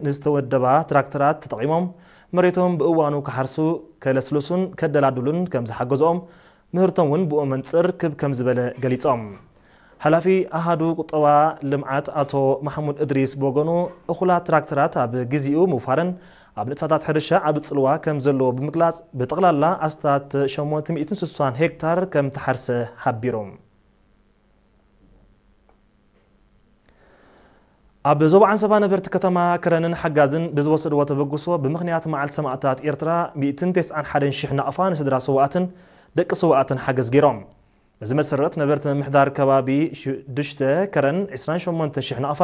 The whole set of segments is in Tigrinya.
ንዝተወደባ ትራክተራት ተጠቒሞም መሬቶም ብእዋኑ ክሓርሱ፣ ከለስልሱን ከደላድሉን ከም ዝሓገዝኦም፣ ምህርቶም እውን ብኡ መንጽር ክብ ከም ዝበለ ገሊጾም። ሓላፊ ኣሃዱ ቁጠባ ልምዓት ኣቶ ማሕሙድ እድሪስ ብወገኑ፣ እኹላት ትራክተራት ኣብ ግዜኡ ምውፋረን ኣብ ንጥፈታት ሕርሻ ዓቢ ጽልዋ ከም ዘለዎ ብምግላጽ፣ ብጠቕላላ ኣስታት ሸሞንተ ሚእትን ስሳን ሄክታር ከም ተሓርሰ ሓቢሩ። ኣብ ዞባ ዓንሰባ ነበርቲ ከተማ ከረንን ሓጋዝን ብዝወሰድዎ ተበግሶ፣ ብምኽንያት መዓልቲ ሰማእታት ኤርትራ፣ ሚእትን ተስዓን ሓደን ሽሕ ናቕፋ ንስድራ ስውኣትን ደቂ ስውኣትን ሓገዝ ገይሮም። በዚ መሰረት፣ ነበርቲ ምምሕዳር ከባቢ ሽዱሽተ ከረን፣ ዕስራን ሸሞንተን ሽሕ ናቕፋ፣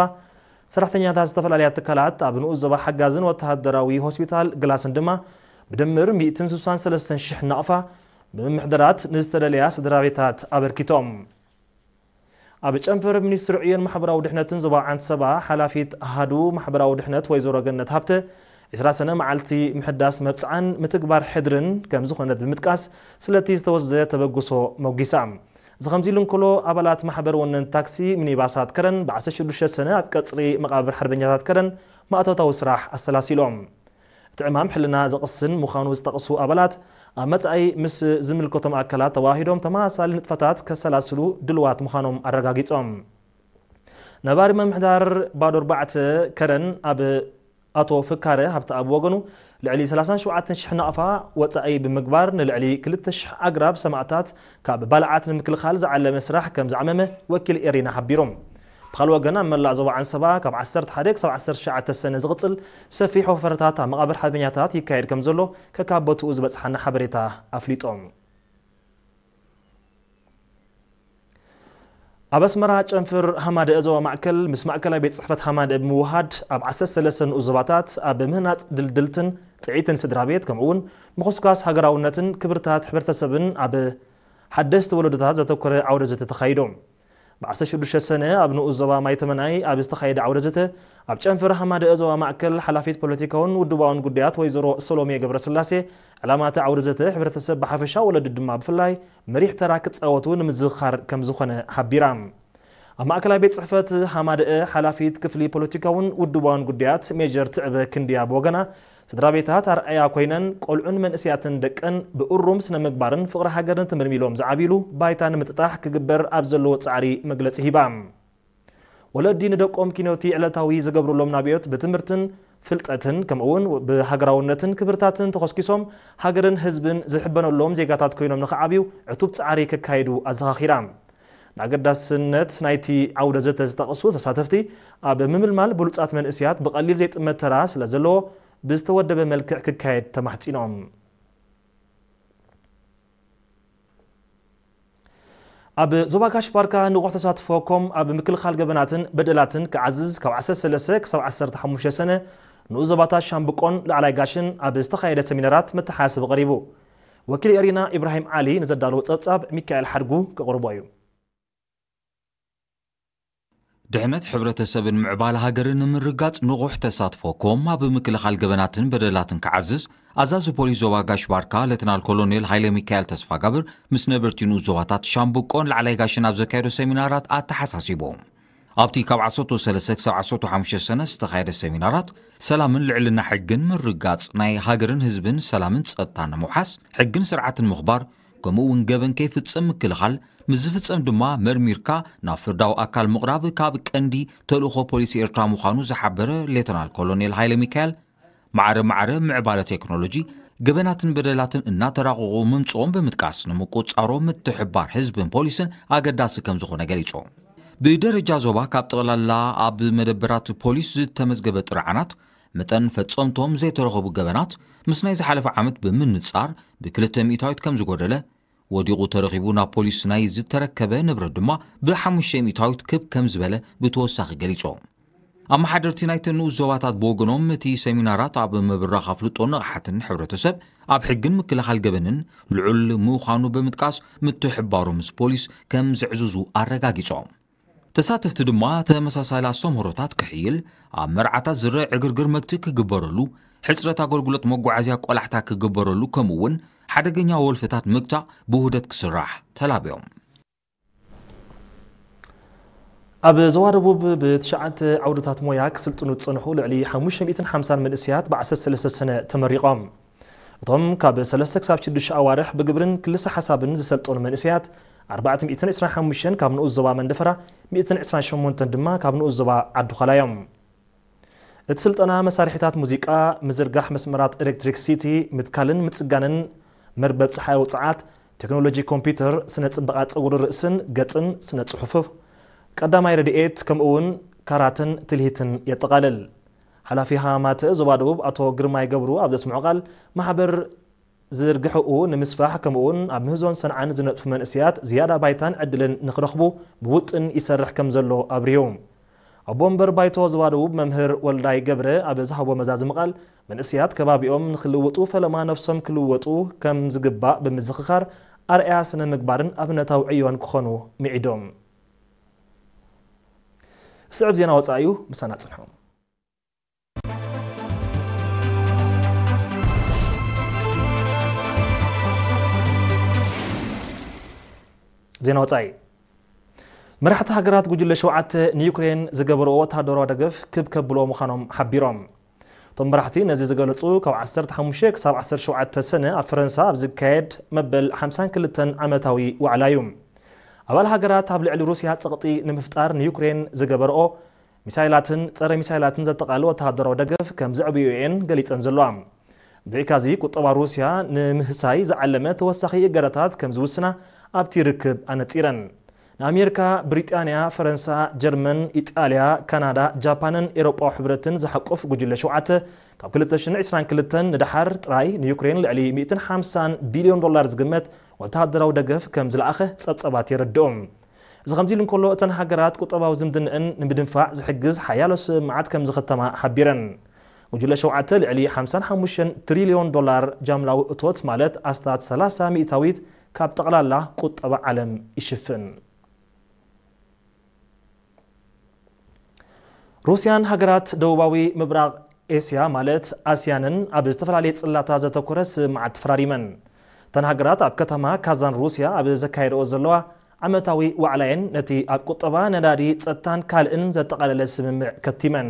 ሰራሕተኛታት ዝተፈላለያ ትካላት ኣብ ንኡስ ዞባ ሓጋዝን ወተሃደራዊ ሆስፒታል ግላስን ድማ ብድምር ሚእትን ስሳን ሰለስተን ሽሕ ናቕፋ ብምምሕዳራት ንዝተደለያ ስድራ ቤታት ኣበርኪቶም። ኣብ ጨንፈር ሚኒስትሪ ዕዮን ማሕበራዊ ድሕነትን ዞባ ዓንሰባ፣ ሓላፊት ኣሃዱ ማሕበራዊ ድሕነት ወይዘሮ ገነት ሃብተ፣ ዕስራ ሰነ መዓልቲ ምሕዳስ መብጽዓን ምትግባር ሕድርን ከም ዝኾነት ብምጥቃስ፣ ስለቲ ዝተወስደ ተበግሶ መጒሳ። እዚ ከምዚ ኢሉ እንከሎ፣ ኣባላት ማሕበር ወነንቲ ታክሲ ሚኒባሳት ከረን፣ ብ ዓሰርተ ሽዱሽተ ሰነ ኣብ ቀጽሪ መቓብር ሓርበኛታት ከረን ማእቶታዊ ስራሕ ኣሰላሲሎም። እቲ ዕማም ሕልና ዘቕስን ምዃኑ ዝጠቕሱ ኣባላት፣ ኣብ መጻኢ ምስ ዝምልከቶም ኣካላት ተዋሂዶም ተመሳሳሊ ንጥፈታት ከሰላስሉ ድልዋት ምዃኖም ኣረጋጊጾም። ነባሪ ምምሕዳር ባዶ ኣርባዕተ ከረን ኣብ ኣቶ ፍካረ ሃብተኣብ ወገኑ፣ ልዕሊ ሰላሳን ሸውዓተን ሽሕ ናቕፋ ወጻኢ ብምግባር፣ ንልዕሊ ክልተ ሽሕ ኣግራብ ሰማእታት ካብ ባልዓት ንምክልኻል ዝዓለመ ስራሕ ከም ዝዓመመ ወኪል ኤሪና ሓቢሩ። ብኻልእ ወገን፣ ኣብ መላእ ዞባ ዓንሰባ ካብ ዓሰርተ ሓደ ክሳብ ዓሰርተ ትሽዓተ ሰነ ዝቕጽል ሰፊሕ ወፈረታት ኣብ መቓብር ሓርበኛታት ይካየድ ከም ዘሎ ከካብ ቦትኡ ዝበጽሓና ሓበሬታ ኣፍሊጦም። ኣብ ኣስመራ፣ ጨንፍር ሃማደአ ዞባ ማእከል ምስ ማእከላይ ቤት ጽሕፈት ሃማደአ ብምውሃድ፣ ኣብ ዓሰርተ ሰለስተ ንኡስ ዞባታት ኣብ ምህናጽ ድልድልትን ጥዕይትን ስድራ ቤት፣ ከምኡ እውን ምኹስኳስ ሃገራውነትን ክብርታት ሕብረተሰብን ኣብ ሓደስቲ ወለዶታት ዘተኮረ ዓውደ ዘተ ተኻይዱ። ብ ዓሰርተ ሽዱሽተ ሰነ ኣብ ንኡስ ዞባ ማይተመናይ ኣብ ዝተኻየደ ዓውደ ዘተ፣ ኣብ ጨንፈር ሃማደአ ዞባ ማእከል ሓላፊት ፖለቲካውን ውድባውን ጉዳያት ወይዘሮ ሰሎሜ ገብረስላሴ፣ ዕላማ እቲ ዓውደ ዘተ ሕብረተሰብ ብሓፈሻ፣ ወለዲ ድማ ብፍላይ መሪሕ ተራ ክጻወቱ ንምዝኽኻር ከም ዝኾነ ሓቢራ። ኣብ ማእከላይ ቤት ጽሕፈት ሃማደአ ሓላፊት ክፍሊ ፖለቲካውን ውድባውን ጉዳያት ሜጀር ትዕበ ክንድያ ብወገና፣ ስድራ ቤታት ኣርኣያ ኮይነን፣ ቆልዑን መንእሰያትን ደቀን ብእሩም ስነ ምግባርን ፍቕሪ ሃገርን ተመልሚሎም ዝዓብይሉ ባይታ ንምጥጣሕ ክግበር ኣብ ዘለዎ ጻዕሪ መግለጺ ሂባ። ወለዲ ንደቆም ኪኖቲ ዕለታዊ ዝገብሩሎም ናብዮት ብትምህርትን ፍልጠትን፣ ከምኡውን ብሃገራውነትን ክብርታትን ተኾስኪሶም፣ ሃገርን ህዝብን ዝሕበነሎም ዜጋታት ኮይኖም ንኽዓብዩ ዕቱብ ጻዕሪ ከካይዱ ኣዘኻኺራ። ንኣገዳስነት ናይቲ ዓውደ ዘተ ዝጠቕሱ ተሳተፍቲ፣ ኣብ ምምልማል ብሉጻት መንእሰያት ብቐሊል ዘይጥመት ተራ ስለ ዘለዎ፣ ብዝተወደበ መልክዕ ክካየድ ተማሕጺኖም። ኣብ ዞባ ጋሽ ባርካ ንቑሕ ተሳትፎ ኮም ኣብ ምክልኻል ገበናትን በደላትን ክዓዝዝ፣ ካብ ዓሰርተ ሰለስተ ክሳብ ዓሰርተ ሓሙሽተ ሰነ ንኡስ ዞባታት ሻምብቆን ላዕላይ ጋሽን ኣብ ዝተኻየደ ሰሚናራት መተሓሳሰቢ ቀሪቡ። ወኪል ኤሪና ኢብራሂም ዓሊ ንዘዳለዎ ጸብጻብ ሚካኤል ሓድጉ ከቕርቦ እዩ። ድሕነት ሕብረተሰብን ምዕባለ ሃገርን ንምርጋጽ ንቑሕ ተሳትፎ ኮም ኣብ ምክልኻል ገበናትን በደላትን ክዓዝዝ፣ ኣዛዚ ፖሊስ ዞባ ጋሽ ባርካ ሌተናል ኮሎኔል ሃይለ ሚካኤል ተስፋጋብር ምስ ነበርቲ ንኡስ ዞባታት ሻምብቆን ላዕላይ ጋሽን ኣብ ዘካየዶ ሰሚናራት ኣተሓሳሲቡ። ኣብቲ ካብ ዓሰርተ ሰለስተ ክሳብ ዓሰርተ ሓሙሽተ ሰነ ዝተኻየደ ሰሚናራት፣ ሰላምን ልዕልና ሕግን ምርጋጽ፣ ናይ ሃገርን ህዝብን ሰላምን ጸጥታን ንምውሓስ፣ ሕግን ስርዓትን ምኽባር፣ ከምኡ እውን ገበን ከይፍጸም ምክልኻል፣ ምስ ዝፍጸም ድማ መርሚርካ ናብ ፍርዳዊ ኣካል ምቕራብ ካብ ቀንዲ ተልእኾ ፖሊስ ኤርትራ ምዃኑ ዝሓበረ ሌተናል ኮሎኔል ሃይለ ሚካኤል፣ ማዕረ ማዕረ ምዕባለ ቴክኖሎጂ ገበናትን በደላትን እናተራቐቑ ምምጽኦም ብምጥቃስ፣ ንምቁጽጻሮም ምትሕብባር ህዝብን ፖሊስን ኣገዳሲ ከም ዝኾነ ገሊጹ። ብደረጃ ዞባ ካብ ጠቕላላ ኣብ መደበራት ፖሊስ ዝተመዝገበ ጥርዓናት መጠን ፈጸምቶም ዘይተረኸቡ ገበናት ምስ ናይ ዝሓለፈ ዓመት ብምንጻር ብክልተ ሚእታዊት ከም ዝጎደለ፣ ወዲቑ ተረኺቡ ናብ ፖሊስ ናይ ዝተረከበ ንብረት ድማ ብሓሙሽተ ሚእታዊት ክብ ከም ዝበለ ብተወሳኺ ገሊጹ። ኣመሓደርቲ ናይተን ንኡስ ዞባታት ብወገኖም፣ እቲ ሰሚናራት ኣብ ምብራኽ ኣፍልጦን ንቕሓትን ሕብረተሰብ ኣብ ሕግን ምክልኻል ገበንን ልዑል ምዃኑ ብምጥቃስ፣ ምትሕብባሮም ምስ ፖሊስ ከም ዘዕዝዙ ኣረጋጊጾም። ተሳተፍቲ ድማ ተመሳሳሊ ኣስተምህሮታት ክሕይል፣ ኣብ መርዓታት ዝረአ ዕግርግር መግትኢ ክግበረሉ፣ ሕጽረት ኣገልግሎት መጓዓዝያ ቆላሕታ ክግበረሉ፣ ከምኡ እውን ሓደገኛ ወልፍታት ምግታእ ብውህደት ክስራሕ ተላብዮም። ኣብ ዞባ ደቡብ ብትሽዓተ ዓውድታት ሞያ ክስልጥኑ ዝጸንሑ ልዕሊ ሓሙሽተ ሚእትን ሓምሳን መንእሰያት ብ ዓሰርተ ሰለስተ ሰነ ተመሪቖም። እቶም ካብ ሰለስተ ክሳብ ሽዱሽተ ኣዋርሕ ብግብርን ክልሰ ሓሳብን ዝሰልጠኑ መንእሰያት ኣርባዕተ ሚእትን ዕስራን ሓሙሽተን ካብ ንኡስ ዞባ መንደፈራ፣ ሚእትን ዕስራን ሸሞንተን ድማ ካብ ንኡስ ዞባ ዓዲ ዃላ እዮም። እቲ ስልጠና መሳርሒታት ሙዚቃ፣ ምዝርጋሕ መስመራት ኤሌክትሪክ ሲቲ፣ ምትካልን ምጽጋንን መርበብ ጸሓያዊ ጸዓት፣ ቴክኖሎጂ ኮምፒውተር፣ ስነ ጽባቐ ጸጉሪ ርእስን ገጽን፣ ስነ ጽሑፍ፣ ቀዳማይ ረድኤት፣ ከምኡ እውን ካራተን ትልሂትን የጠቓልል። ሓላፊ ሃማተ ዞባ ደቡብ ኣቶ ግርማይ ገብሩ ኣብ ዘስምዖ ቃል፣ ማሕበር ዝርግሐኡ ንምስፋሕ፣ ከምኡውን ኣብ ምህዞን ሰንዓን ዝነጥፉ መንእሰያት ዝያዳ ባይታን ዕድልን ንኽረኽቡ ብውጥን ይሰርሕ ከም ዘሎ ኣብሪሁ። ኣቦ ወንበር ባይቶ ዞባ ደቡብ መምህር ወልዳይ ገብረ ኣብ ዝሃቦ መዛዝሚ ቃል፣ መንእሰያት ከባቢኦም ንኽልውጡ ፈለማ ነፍሶም ክልወጡ ከም ዝግባእ ብምዝኽኻር፣ ኣርኣያ ስነ ምግባርን ኣብነታዊ ዕዮን ክኾኑ ምዒዶም። ስዕብ ዜና ወጻኢ እዩ፣ ምሳና ጽንሑ። ዜና ወጻኢ። መራሕቲ ሃገራት ጉጅለ ሸውዓተ ንዩክሬን ዝገበርኦ ወተሃደራዊ ደገፍ ክብ ከብልዎ ምዃኖም ሓቢሮም። እቶም መራሕቲ ነዚ ዝገለጹ ካብ ዓሰርተ ሓሙሽተ ክሳብ ዓሰርተ ሸውዓተ ሰነ ኣብ ፈረንሳ ኣብ ዝካየድ መበል ሓምሳን ክልተን ዓመታዊ ዋዕላ እዩ። ኣባል ሃገራት ኣብ ልዕሊ ሩስያ ጸቕጢ ንምፍጣር ንዩክሬን ዝገበርኦ ሚሳይላትን ጸረ ሚሳይላትን ዘጠቓልል ወተሃደራዊ ደገፍ ከም ዘዕብዮ እየን ገሊጸን ዘለዋ። ብዘይካዚ፣ ቁጠባ ሩስያ ንምህሳይ ዝዓለመ ተወሳኺ እገዳታት ከም ዝውስና ኣብቲ ርክብ ኣነጺረን። ንኣሜሪካ፣ ብሪጣንያ፣ ፈረንሳ፣ ጀርመን፣ ኢጣልያ፣ ካናዳ፣ ጃፓንን ኤውሮጳዊ ሕብረትን ዝሓቁፍ ጉጅለ ሸውዓተ፣ ካብ ክልተ ሽሕን ዕስራን ክልተን ንደሓር ጥራይ ንዩክሬን ልዕሊ ሚእትን ሓምሳን ቢልዮን ዶላር ዝግመት ወተሃደራዊ ደገፍ ከም ዝለኣኸ ጸብጸባት የረድኡ። እዚ ከምዚ ኢሉ እንከሎ፣ እተን ሃገራት ቁጠባዊ ዝምድንአን ንምድንፋዕ ዝሕግዝ ሓያሎ ስምምዓት ከም ዝኸተማ ሓቢረን። ጉጅለ ሸውዓተ ልዕሊ ሓምሳን ሓሙሽተን ትሪልዮን ዶላር ጃምላዊ እቶት፣ ማለት ኣስታት ሰላሳ ሚእታዊት ካብ ጠቕላላ ቁጠባ ዓለም ይሽፍን። ሩስያን ሃገራት ደቡባዊ ምብራቕ ኤስያ ማለት ኣስያንን ኣብ ዝተፈላለየ ጽላታት ዘተኮረ ስምምዓት ተፈራሪመን። እተን ሃገራት ኣብ ከተማ ካዛን ሩስያ ኣብ ዘካየደኦ ዘለዋ ዓመታዊ ዋዕላየን ነቲ ኣብ ቁጠባ፣ ነዳዲ፣ ጸጥታን ካልእን ዘጠቓለለ ስምምዕ ከቲመን።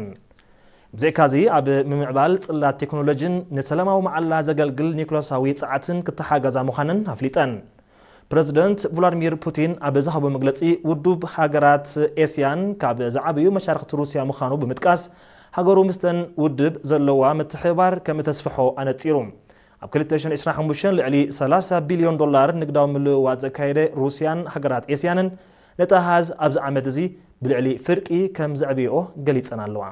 ብዘይካዚ ኣብ ምምዕባል ጽላት ቴክኖሎጂን ንሰላማዊ መዓላ ዘገልግል ኒውክለሳዊ ጸዓትን ክተሓጋዛ ምዃነን ኣፍሊጠን። ፕረዚደንት ቭላድሚር ፑቲን ኣብ ዝሃቦ መግለጺ፣ ውድብ ሃገራት ኤስያን ካብ ዝዓበዩ መሻርኽቲ ሩስያ ምዃኑ ብምጥቃስ፣ ሃገሩ ምስተን ውድብ ዘለዋ ምትሕብባር ከም እተስፍሖ ኣነጺሩ። ኣብ ክልተ ሽሕን ዕስራን ሓሙሽተን ልዕሊ ሰላሳ ቢልዮን ዶላር ንግዳዊ ምልውዋጥ ዘካየደ ሩስያን ሃገራት ኤስያንን ነቲ ኣሃዝ ኣብዚ ዓመት እዚ ብልዕሊ ፍርቂ ከም ዘዕብይኦ ገሊጸን ኣለዋ።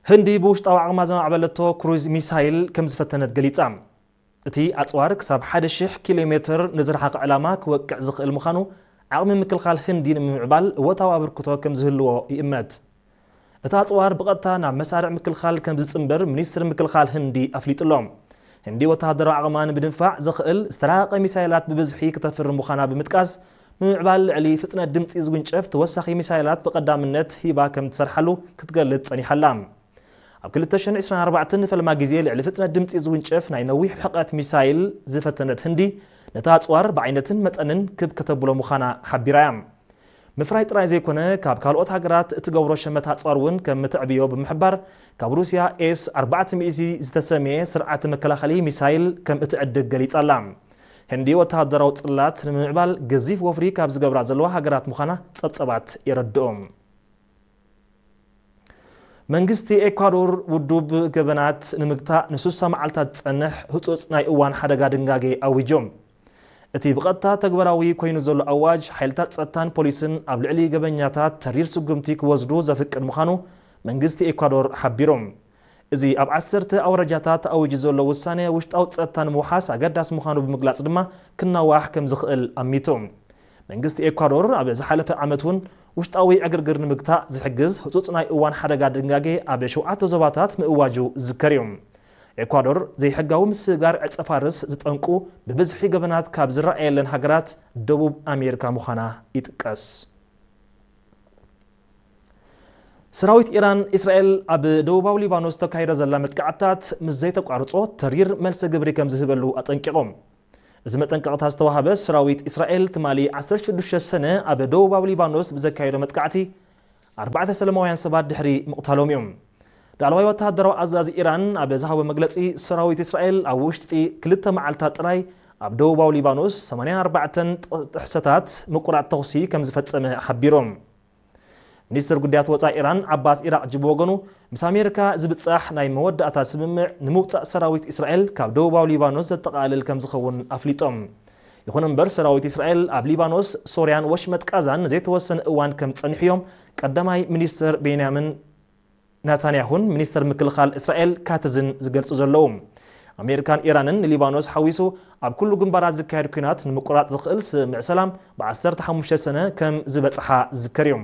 ህንዲ ብውሽጣዊ ዓቕማ ዘማዕበለቶ ክሩዝ ሚሳይል ከም ዝፈተነት ገሊጻ። እቲ ኣጽዋር ክሳብ ሓደ ሽሕ ኪሎ ሜትር ንዝረሓቐ ዕላማ ክወቅዕ ዝኽእል ምዃኑ፣ ዓቕሚ ምክልኻል ህንዲ ንምምዕባል እወታዊ ኣበርክቶ ከም ዝህልዎ ይእመት። እቲ ኣጽዋር ብቐጥታ ናብ መሳርዕ ምክልኻል ከም ዝጽንበር ሚኒስትሪ ምክልኻል ህንዲ ኣፍሊጡ ኣሎ። ህንዲ ወተሃደራዊ ዓቕማ ንምድንፋዕ ዘኽእል ዝተራቐቐ ሚሳይላት ብብዝሒ ክተፍሪ ምዃና ብምጥቃስ፣ ምምዕባል ልዕሊ ፍጥነት ድምጺ ዝውንጨፍ ተወሳኺ ሚሳይላት ብቐዳምነት ሂባ ከም ትሰርሓሉ ክትገልጽ ጸኒሓ ኣላ። ኣብ ክልተ ሽሕን ዕስራን ኣርባዕተን ንፈለማ ግዜ ልዕሊ ፍጥነት ድምጺ ዝውንጨፍ ናይ ነዊሕ ርሕቀት ሚሳይል ዝፈተነት ህንዲ፣ ነታ ኣጽዋር ብዓይነትን መጠንን ክብ ከተብሎ ምዃና ሓቢራ እያ። ምፍራይ ጥራይ ዘይኮነ፣ ካብ ካልኦት ሃገራት እትገብሮ ሸመት ኣጽዋር እውን ከም እተዕብዮ ብምሕባር፣ ካብ ሩስያ ኤስ ኣርባዕተ ሚእቲ ዝተሰምየ ስርዓተ መከላኸሊ ሚሳይል ከም እትዕድግ ገሊጻ ኣላ። ህንዲ ወተሃደራዊ ጽላት ንምምዕባል ገዚፍ ወፍሪ ካብ ዝገብራ ዘለዋ ሃገራት ምዃና ጸብጸባት የረድኡ። መንግስቲ ኤኳዶር ውዱብ ገበናት ንምግታእ ንስሳ መዓልታት ዝጸንሕ ህጹጽ ናይ እዋን ሓደጋ ድንጋጌ ኣዊጁ። እቲ ብቐጥታ ተግባራዊ ኮይኑ ዘሎ ኣዋጅ፣ ሓይልታት ጸጥታን ፖሊስን ኣብ ልዕሊ ገበኛታት ተሪር ስጉምቲ ክወስዱ ዘፍቅድ ምዃኑ መንግስቲ ኤኳዶር ሓቢሩ። እዚ ኣብ ዓሰርተ ኣውራጃታት ተኣዊጁ ዘሎ ውሳነ፣ ውሽጣዊ ጸጥታ ንምውሓስ ኣገዳሲ ምዃኑ ብምግላጽ ድማ፣ ክናዋሕ ከም ዝኽእል ኣሚቱ። መንግስቲ ኤኳዶር ኣብ ዝሓለፈ ዓመት እውን ውሽጣዊ ዕግርግር ንምግታእ ዝሕግዝ ህጹጽ ናይ እዋን ሓደጋ ድንጋጌ ኣብ ሸውዓተ ዞባታት ምእዋጁ ዝዝከር እዩ። ኤኳዶር ዘይሕጋዊ ምስግጋር ዕጸ ፋርስ ዝጠንቁ ብብዝሒ ገበናት ካብ ዝረኣየለን ሃገራት ደቡብ ኣሜሪካ ምዃና ይጥቀስ። ሰራዊት ኢራን፣ እስራኤል ኣብ ደቡባዊ ሊባኖስ ተካይዶ ዘላ መጥቃዕትታት ምስ ዘይተቋርጾ ተሪር መልሲ ግብሪ ከም ዝህበሉ ኣጠንቂቖም። እዚ መጠንቀቕታ ዝተዋህበ ሰራዊት እስራኤል ትማሊ ዓሰርተ ሽዱሽተ ሰነ ኣብ ደቡባዊ ሊባኖስ ብዘካየዶ መጥቃዕቲ ኣርባዕተ ሰላማውያን ሰባት ድሕሪ ምቕታሎም እዩ። ላዕለዋይ ወተሃደራዊ ኣዛዚ ኢራን ኣብ ዝሃቦ መግለጺ፣ ሰራዊት እስራኤል ኣብ ውሽጢ ክልተ መዓልታት ጥራይ ኣብ ደቡባዊ ሊባኖስ ሰማንያን ኣርባዕተን ጥሕሰታት ምቁራጽ ተኹሲ ከም ዝፈጸመ ሓቢሮም። ሚኒስትር ጉዳያት ወጻኢ ኢራን ዓባስ ኢራቕጂ ብወገኑ፣ ምስ ኣሜሪካ ዝብጻሕ ናይ መወዳእታ ስምምዕ ንምውጻእ ሰራዊት እስራኤል ካብ ደቡባዊ ሊባኖስ ዘጠቓልል ከም ዝኸውን ኣፍሊጦም። ይኹን እምበር፣ ሰራዊት እስራኤል ኣብ ሊባኖስ፣ ሶርያን ወሽመጥ ቃዛን ንዘይተወሰነ እዋን ከም ጸኒሑ እዮም ቀዳማይ ሚኒስትር ቤንያሚን ናታንያሁን ሚኒስትር ምክልኻል እስራኤል ካትዝን ዝገልጹ ዘለዉ። ኣሜሪካን ኢራንን ንሊባኖስ ሓዊሱ ኣብ ኩሉ ግንባራት ዝካየድ ኲናት ንምቁራጽ ዝኽእል ስምምዕ ሰላም ብ ዓሰርተ ሓሙሽተ ሰነ ከም ዝበጽሓ ዝዝከር እዩ።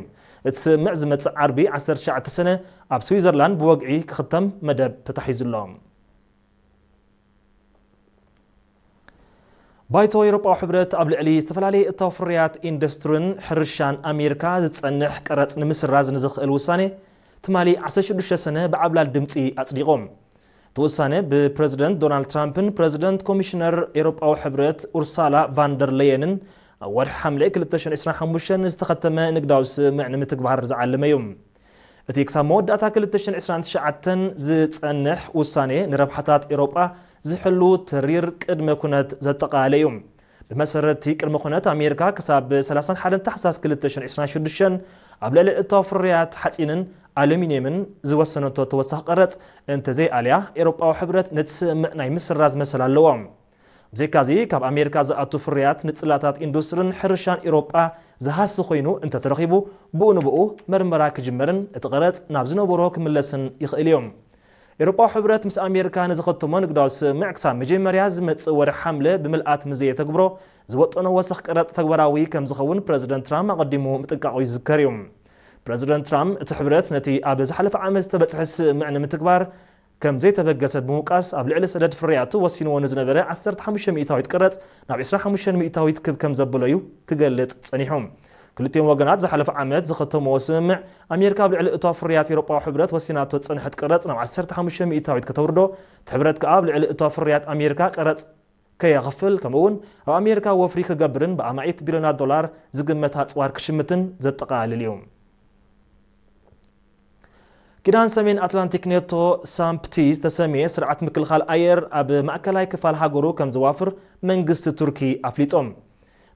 እቲ ስምምዕ ዝመጽእ ዓርቢ ዓሰርተ ትሽዓተ ሰነ ኣብ ስዊዘርላንድ ብወግዒ ክኽተም መደብ ተታሒዙ ኣሎ። ባይቶ ኤውሮጳዊ ሕብረት ኣብ ልዕሊ ዝተፈላለየ እታው ፍርያት ኢንዱስትሪን ሕርሻን ኣሜሪካ ዝጸንሕ ቀረጽ ንምስራዝ ንዝኽእል ውሳኔ ትማሊ ዓሰርተ ሽዱሽተ ሰነ ብዓብላል ድምጺ ኣጽዲቖም። እቲ ውሳነ ብፕረዚደንት ዶናልድ ትራምፕን ፕረዚደንት ኮሚሽነር ኤውሮጳዊ ሕብረት ኡርሳላ ቫንደር ለየንን ኣብ ወርሒ ሓምለ ክልተ ሽሕን ዕስራን ሓሙሽተን ዝተኸተመ ንግዳዊ ስምምዕ ንምትግባር ዝዓለመ እዩ። እቲ ክሳብ መወዳእታ ክልተ ሽሕን ዕስራን ትሽዓተን ዝጸንሕ ውሳኔ ንረብሓታት ኤውሮጳ ዝሕሉ ተሪር ቅድመ ኩነት ዘጠቓለለ እዩ። ብመሰረት እቲ ቅድመ ኩነት፣ ኣሜሪካ ክሳብ ሰላሳን ሓደን ታሕሳስ ክልተ ሽሕን ዕስራን ሽዱሽተን ኣብ ልዕሊ እታው ፍርያት ሓጺንን ኣሉሚንየምን ዝወሰነቶ ተወሳኺ ቀረጽ እንተዘይኣልያ፣ ኤውሮጳዊ ሕብረት ነቲ ስምምዕ ናይ ምስራዝ መሰል ኣለዎ። ብዘይካዚ፣ ካብ ኣሜሪካ ዝኣቱ ፍርያት ንጽላታት ኢንዱስትሪን ሕርሻን ኤውሮጳ ዝሃሲ ኮይኑ እንተተረኺቡ፣ ብኡ ንብኡ መርመራ ክጅመርን እቲ ቀረጽ ናብ ዝነበሮ ክምለስን ይኽእል እዩ። ኤውሮጳዊ ሕብረት ምስ ኣሜሪካ ንዝኸተሞ ንግዳዊ ስምምዕ ክሳብ መጀመርያ ዝመጽእ ወርሒ ሓምለ ብምልኣት ምዘየተግብሮ፣ ዝወጠኖ ወሰኽ ቀረጽ ተግባራዊ ከም ዝኸውን ፕረዚደንት ትራምፕ ኣቐዲሙ ምጥንቃቑ ይዝከር እዩ። ፕረዚደንት ትራምፕ፣ እቲ ሕብረት ነቲ ኣብ ዝሓለፈ ዓመት ዝተበጽሐ ስምምዕ ንምትግባር ከም ዘይተበገሰ ብምውቃስ፣ ኣብ ልዕሊ ሰደድ ፍርያቱ ወሲንዎ ንዝነበረ ዓሰርተ ሓሙሽተ ሚእታዊት ቀረጽ ናብ ዕስራን ሓሙሽተን ሚእታዊት ክብ ከም ዘበሎ እዩ ክገልጽ ጸኒሑ። ክልቲኦም ወገናት ዝሓለፈ ዓመት ዝኸተምዎ ስምምዕ፣ ኣሜሪካ ኣብ ልዕሊ እቶ ፍርያት ኤውሮጳዊ ሕብረት ወሲናቶ ዝጸንሐት ቀረጽ ናብ ዓሰርተ ሓሙሽተ ሚእታዊት ከተውርዶ፣ እቲ ሕብረት ከኣ ኣብ ልዕሊ እቶ ፍርያት ኣሜሪካ ቀረጽ ከየኽፍል፣ ከምኡ እውን ኣብ ኣሜሪካ ወፍሪ ክገብርን ብኣማኢት ቢልዮናት ዶላር ዝግመት ኣጽዋር ክሽምትን ዘጠቓልል እዩ። ኪዳን ሰሜን ኣትላንቲክ ኔቶ፣ ሳምፕቲ ዝተሰምየ ስርዓት ምክልኻል ኣየር ኣብ ማእከላይ ክፋል ሃገሩ ከም ዘዋፍር መንግስቲ ቱርኪ ኣፍሊጦም።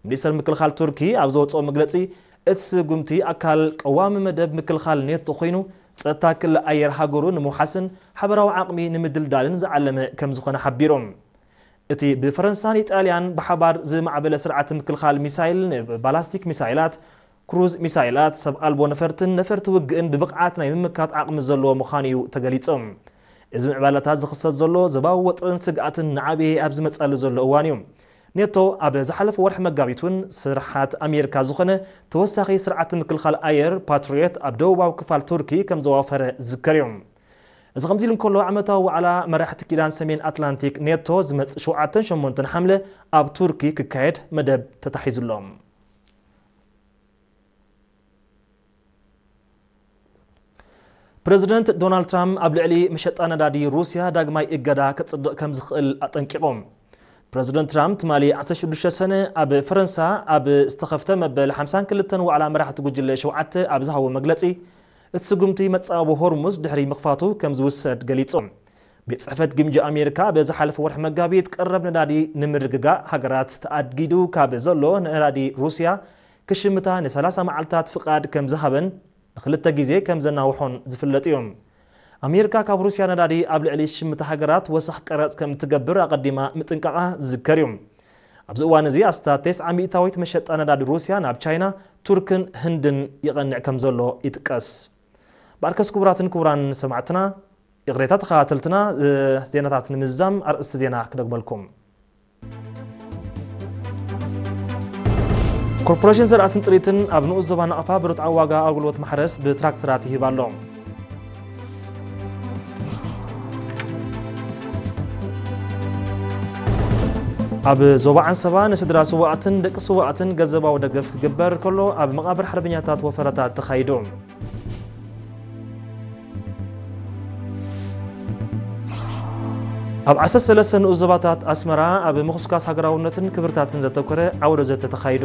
ሚኒስተር ምክልኻል ቱርኪ ኣብ ዘወፅኦ መግለፂ፣ እቲ ስጉምቲ ኣካል ቀዋሚ መደብ ምክልኻል ኔቶ ኮይኑ፣ ጸጥታ ክሊ ኣየር ሃገሩ ንምውሓስን ሓበራዊ ዓቕሚ ንምድልዳልን ዝዓለመ ከም ዝኾነ ሓቢሮም። እቲ ብፈረንሳን ኢጣልያን ብሓባር ዝማዕበለ ስርዓት ምክልኻል ሚሳይል፣ ንባላስቲክ ሚሳይላት፣ ክሩዝ ሚሳይላት፣ ሰብ ኣልቦ ነፈርትን ነፈርቲ ውግእን ብብቕዓት ናይ ምምካት ዓቕሚ ዘለዎ ምዃኑ እዩ ተገሊጹ። እዚ ምዕባለታት ዝኽሰት ዘሎ ዘባዊ ወጥርን ስግኣትን ንዓቢ ኣብ ዝመጸሉ ዘሎ እዋን እዩ። ኔቶ ኣብ ዝሓለፈ ወርሒ መጋቢት እውን ስርሓት ኣሜሪካ ዝኾነ ተወሳኺ ስርዓት ምክልኻል ኣየር ፓትሪዮት ኣብ ደቡባዊ ክፋል ቱርኪ ከም ዘዋፈረ ዝዝከር እዩ። እዚ ከምዚ ኢሉ እንከሎ፣ ዓመታዊ ዋዕላ መራሕቲ ኪዳን ሰሜን ኣትላንቲክ ኔቶ ዝመጽእ ሸውዓተን ሸሞንተን ሓምለ ኣብ ቱርኪ ክካየድ መደብ ተታሒዙ ኣሎ። ፕረዚደንት ዶናልድ ትራምፕ ኣብ ልዕሊ መሸጣ ነዳዲ ሩስያ ዳግማይ እገዳ ከጽድቕ ከም ዝኽእል ኣጠንቂቖም። ፕረዚደንት ትራምፕ ትማሊ ዓሰርተ ሽዱሽተ ሰነ ኣብ ፈረንሳ ኣብ ዝተኸፍተ መበል ሓምሳን ክልተን ዋዕላ መራሕቲ ጉጅለ ሸውዓተ ኣብ ዝሃቦ መግለጺ፣ እቲ ስጉምቲ መጻወ ሆርሙዝ ድሕሪ ምኽፋቱ ከም ዝውሰድ ገሊጹ። ቤት ጽሕፈት ግምጃ ኣሜሪካ በዚ ሓለፈ ወርሒ መጋቢት ቀረብ ነዳዲ ንምርግጋእ ሃገራት ተኣጊዱ ካብ ዘሎ ነዳዲ ሩስያ ክሽምታ ንሰላሳ መዓልታት ፍቓድ ከም ዝሃበን ንኽልተ ግዜ ከም ዘናውሖን ዝፍለጥ እዩ። ኣሜሪካ ካብ ሩስያ ነዳዲ ኣብ ልዕሊ ሽምታ ሃገራት ወሰኽ ቀረጽ ከም እትገብር ኣቐዲማ ምጥንቃቓ ዝዝከር እዩ። ኣብዚ እዋን እዚ ኣስታት ተስዓ ሚእታዊት መሸጣ ነዳዲ ሩስያ ናብ ቻይና፣ ቱርክን ህንድን ይቐንዕ ከም ዘሎ ይጥቀስ። በርከስ ክቡራትን ክቡራን ሰማዕትና፣ ይቕሬታ ተኸታተልትና፣ እ፣ ዜናታት ንምዝዛም ኣርእስቲ ዜና ክደግመልኩም። ኮርፖሬሽን ዘርኣትን ጥሪትን ኣብ ንኡስ ዞባ ናቕፋ ብርትዓዊ ዋጋ ኣገልግሎት ማሕረስ ብትራክተራት ይህብ ኣሎ። ኣብ ዞባ ዓንሰባ ንስድራ ስዋኣትን ደቂ ስዋኣትን ገንዘባዊ ደገፍ ክግበር ከሎ፣ ኣብ መቓብር ሓርበኛታት ወፈረታት ተኻይዱ። ኣብ ዓሰርተ ሰለስተ ንኡስ ዞባታት ኣስመራ ኣብ ምኹስኳስ ሃገራውነትን ክብርታትን ዘተኮረ ዓውደ ዘተ ተኻይዱ።